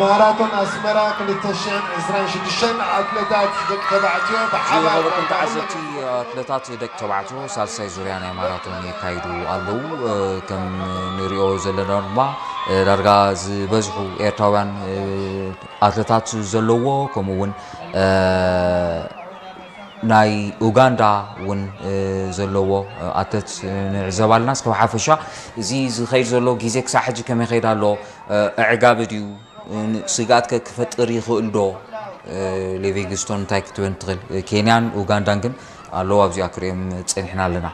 ማራቶን ኣስመራ ክልተ ሽሕን ዕስራን ሽዱሽተን ኣትለታት ደቂ ተባዕትዮ ብሓባር ዝኸበርኩም ተዓዘብቲ፣ ኣትለታት ደቂ ተባዕትዮ ሳልሳይ ዙርያ ናይ ማራቶን የካይዱ ኣለዉ። ከም ንሪኦ ዘለና ድማ ዳርጋ ዝበዝሑ ኤርትራውያን ኣትለታት ዘለዎ፣ ከምኡ እውን ናይ ኡጋንዳ እውን ዘለዎ ኣትለት ንዕዘብ ኣለና። እስከ ብሓፈሻ እዚ ዝኸይድ ዘሎ ግዜ ክሳብ ሕጂ ከመይ ይኸይድ ኣሎ? ኣዕጋቢ ድዩ? ስግኣት ከ ክፈጥር ይኽእል ዶ? ሊቪንግስቶን እንታይ ክትበን ትኽእል? ኬንያን ኡጋንዳን ግን ኣለዉ ኣብዚኣ ክርእዮም ጸኒሕና ኣለና።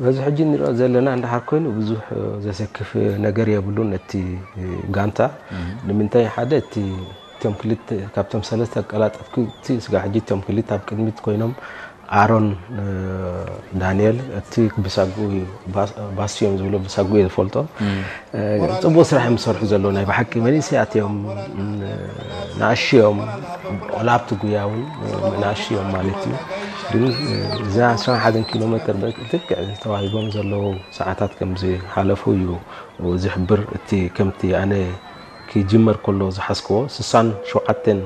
በዚ ሕጂ ንሪኦ ዘለና እንድሓር ኮይኑ ብዙሕ ዘሰክፍ ነገር የብሉን ነቲ ጋንታ። ንምንታይ ሓደ እቲ እቶም ክልተ ካብቶም ሰለስተ ኣቀላጠፍቲ ስጋ ሕጂ እቶም ክልተ ኣብ ቅድሚት ኮይኖም ኣሮን ዳንኤል እቲ ብሳጉ እዩ ባስዮም ዝብሎ ብሳጉ እየ ዝፈልጦ። ፅቡቅ ስራሕ እዮም ዝሰርሑ ዘለዉ ናይ ብሓቂ መንእሰያት እዮም። ንኣሽዮም ቆላብቲ ጉያ እውን ንኣሽዮም ማለት እዩ። ግን እዛ ዕስራን ሓደን ኪሎ ሜትር ልክዕ ተዋሂቦም ዘለዉ ሰዓታት ከም ዝሓለፉ እዩ ዝሕብር። እቲ ከምቲ ኣነ ክጅመር ከሎ ዝሓዝክዎ ስሳን ሸውዓተን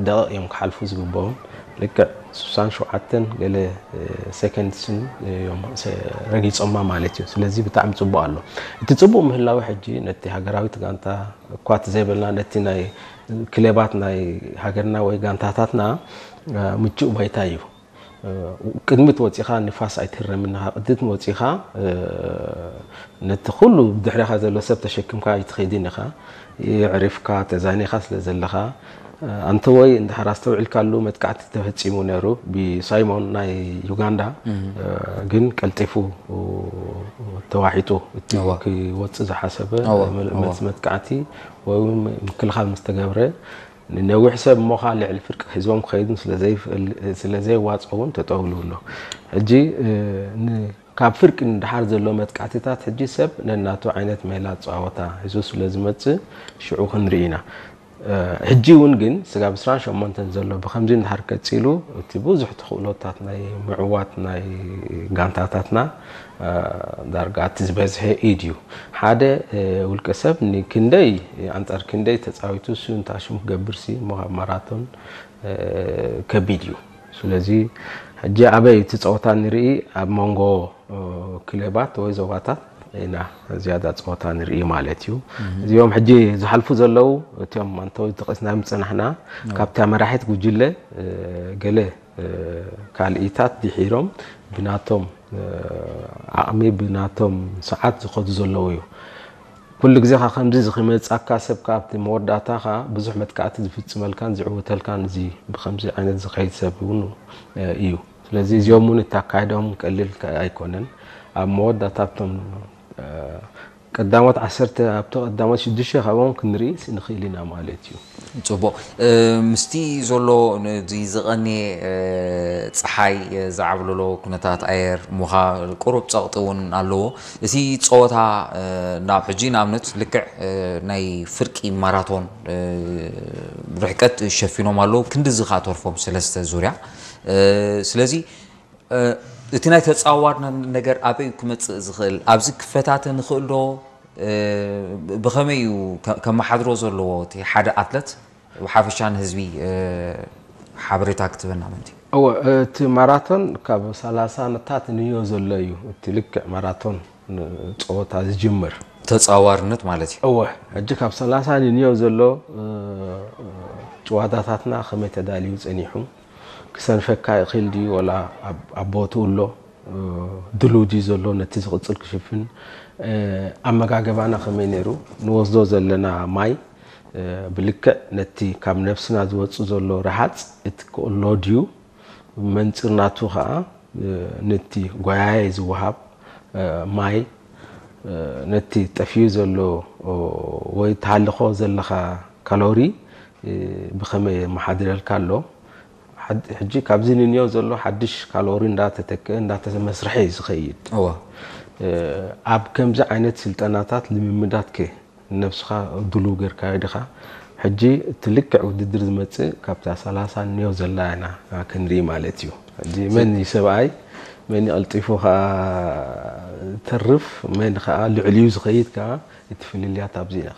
ደቂቕ እዮም ክሓልፉ ዝግብኦም። ልክዕ ስሳን ሸውዓተን ገለ ሰከንድስን እዮም ረጊፆማ ማለት እዩ። ስለዚ ብጣዕሚ ፅቡቅ ኣሎ። እቲ ፅቡቅ ምህላዊ ሕጂ ነቲ ሃገራዊት ጋንታ እኳ ዘይበልና ነቲ ናይ ክለባት ናይ ሃገርና ወይ ጋንታታትና ምቹእ ባይታ እዩ። ቅድሚት ወፂኻ ንፋስ ኣይትህረምን ኢኻ። ቅድሚት ወፂኻ ነቲ ኩሉ ብድሕሪኻ ዘሎ ሰብ ተሸክምካ ኣይትኸይድን ኢኻ። የዕሪፍካ ተዛኒኻ ስለ ዘለኻ ኣንተ ወይ እንድሕር ኣስተውዒልካሉ መጥቃዕቲ ተፈፂሙ ነይሩ ብሳይሞን ናይ ዩጋንዳ ግን ቀልጢፉ ተዋሒጡ እቲ ክወፅእ ዝሓሰበ መልሲ መጥቃዕቲ ወይ ምክልኻል ምስ ተገብረ ንነዊሕ ሰብ እሞ ኸዓ ልዕሊ ፍርቂ ሒዝዎም ክኸይዱን ስለ ዘይዋፅኦ እውን ተጠውሉ ኣሎ። ሕጂ ካብ ፍርቂ ንድሓር ዘሎ መጥቃዕትታት ሕጂ ሰብ ነናቱ ዓይነት ሜላ ኣፀዋወታ ሒዙ ስለ ዝመፅእ ሽዑ ክንርኢ ኢና። ሕጂ እውን ግን ስጋብ ዕስራን ሸሞንተን ዘሎ ብኸምዚ እንድሓር ቀፂሉ እቲ ብዙሕ ተኽእሎታት ናይ ምዕዋት ናይ ጋንታታትና ዳርጋ እቲ ዝበዝሐ ኢድ እዩ። ሓደ ውልቀ ሰብ ንክንደይ ኣንፃር ክንደይ ተፃዊቱ እሱ እንታይ ሽሙ ክገብር ሲ እሞ ኣብ ማራቶን ከቢድ እዩ። ስለዚ ሕጂ ኣበይ እቲ ፀወታ ንርኢ ኣብ መንጎ ክለባት ወይ ዞባታት ኢና ዝያዳ ፀወታ ንርኢ ማለት እዩ። እዚኦም ሕጂ ዝሓልፉ ዘለዉ እቲኦም ኣንተወይ ተቐስና ምፅናሕና ካብቲ ኣመራሒት ጉጅለ ገለ ካልኢታት ድሒሮም ብናቶም ዓቕሚ ብናቶም ሰዓት ዝኸዱ ዘለዉ እዩ። ኩሉ ግዜ ካ ከምዚ ዝክመፅኣካ ሰብ ካብቲ መወዳእታ ካ ብዙሕ መጥቃዕቲ ዝፍፅመልካን ዝዕውተልካን እዚ ብከምዚ ዓይነት ዝኸይድ ሰብ እውን እዩ። ስለዚ እዚኦም እውን እታካይዶም ቀሊል ኣይኮነን። ኣብ መወዳእታ ኣብቶም ቀዳሞት ዓሰርተ ኣብቲ ቀዳሞት ሽዱሽተ ካብኦም ክንርኢ ንኽእል ኢና ማለት እዩ። ፅቡቕ ምስቲ ዘሎ ነዚ ዝቐንየ ፀሓይ ዝዓብለሎ ኩነታት ኣየር ሙኻ ቁሩብ ፀቕጢ እውን ኣለዎ። እቲ ፀወታ ናብ ሕጂ ንኣብነት ልክዕ ናይ ፍርቂ ማራቶን ርሕቀት ሸፊኖም ኣለዉ ክንድዚ ከዓ ተርፎም ሰለስተ ዙርያ ስለዚ እቲ ናይ ተፃዋርነት ነገር ኣበይ ክመፅእ ዝኽእል ኣብዚ ክፈታተ ንኽእል ዶ ብኸመይ እዩ ከመሓድሮ ዘለዎ እቲ ሓደ ኣትለት ብሓፈሻ ንህዝቢ ሓበሬታ ክትበና ምንቲ እወ እቲ ማራቶን ካብ ሰላሳ ነታት ንዮ ዘሎ እዩ እቲ ልክዕ ማራቶን ፀወታ ዝጅምር ተፃዋርነት ማለት እዩ እወ ሕጂ ካብ ሰላሳ ንዮ ዘሎ ጨዋታታትና ከመይ ተዳልዩ ፀኒሑ ክሰንፈካ ይኽእል ድዩ ወላ ኣብ ቦትኡ ኣሎ ድሉ ድዩ ዘሎ ነቲ ዝቕፅል ክሽፍን ኣመጋገባና ከመይ ነይሩ ንወስዶ ዘለና ማይ ብልክዕ ነቲ ካብ ነብስና ዝወፅእ ዘሎ ረሃፅ እቲ ክእሎ ድዩ መንፅር ናቱ ከዓ ነቲ ጓያየ ዝወሃብ ማይ ነቲ ጠፍዩ ዘሎ ወይ ተሃልኾ ዘለኻ ካሎሪ ብኸመይ የመሓድረልካ ኣሎ ሕጂ ካብዚ ንንዮ ዘሎ ሓድሽ ካሎሪ እንዳተተክአ እንዳተመስርሐ እዩ ዝኸይድ ኣብ ከምዚ ዓይነት ስልጠናታት ልምምዳት ከ ነብስኻ ድሉው ጌርካዮ ዲኻ ሕጂ እቲ ልክዕ ውድድር ዝመፅእ ካብታ ሰላሳ ንዮ ዘላ ኢና ክንርኢ ማለት እዩ ሕጂ መን እዩ ሰብኣይ መን ቀልጢፉ ከዓ ተርፍ መን ከዓ ልዕልዩ ዝኸይድ ከዓ እቲ ፍልልያት ኣብዚ ኢና